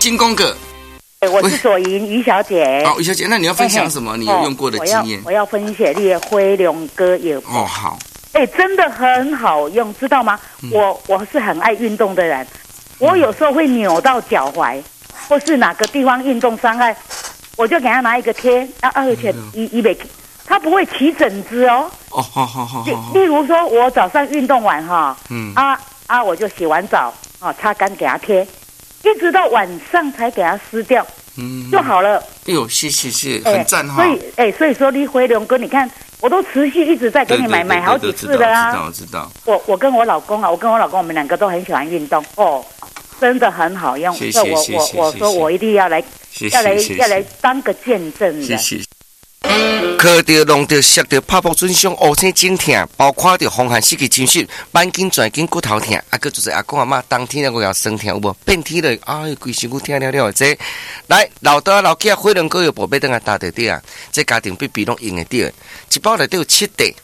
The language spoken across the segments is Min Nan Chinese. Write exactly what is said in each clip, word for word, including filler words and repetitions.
进广告。我是左莹于小姐。好，于小姐，那你要分享什麼？你有用過的經驗？我要分享你的火龍果藥。哦，好。哎，真的很好用，知道嗎？我我是很愛運動的人，我有時候會扭到腳踝，或是哪個地方運動傷害，我就給他拿一個貼，啊，而且伊伊袂，他不會起疹子哦。哦，好好好。例例如說，我早上運動完哈，嗯，啊啊，我就洗完澡啊，擦乾給他貼，一直到晚上才給他撕掉，嗯，就好了。哎呦，謝謝謝，很讚哈。所以，哎，所以說你火龍果，你看我都持續一直在給你買買好幾次的啊。知道知道。我我跟我老公啊，我跟我老公，我們兩個都很喜歡運動哦，真的很好用。謝謝我我我說我一定要來，要來要來當個見證人。謝謝。咳著、弄著、摔著、拍撲損傷、烏青腫痛，包括著風寒濕氣侵襲、板筋、轉筋、骨頭痛，啊，閣就是阿公阿嬤冬天了閣有酸痛有無？變天了，哎，規身軀疼了了的這，來老刀老囝火龍果藥補買轉來搭著對啊，這家庭必備攏用會著，一包內底有七塊，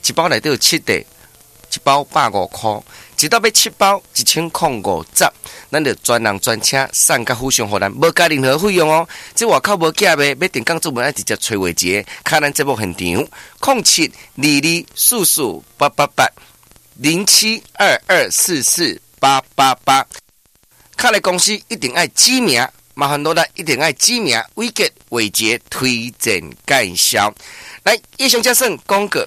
一包內底有七塊，一包百五箍，一道買七包，一千空五十。咱就專人專車送到府上，予咱無加任何費用哦。這外口無寄賣，欲定工做文愛直接揣話一個，敲咱節目現場，空七二二四四八八八零七二二四四八八八。敲來公司一定愛指名，麻煩落來一定愛指名，偉傑偉傑推薦介紹。來，以上才算廣告。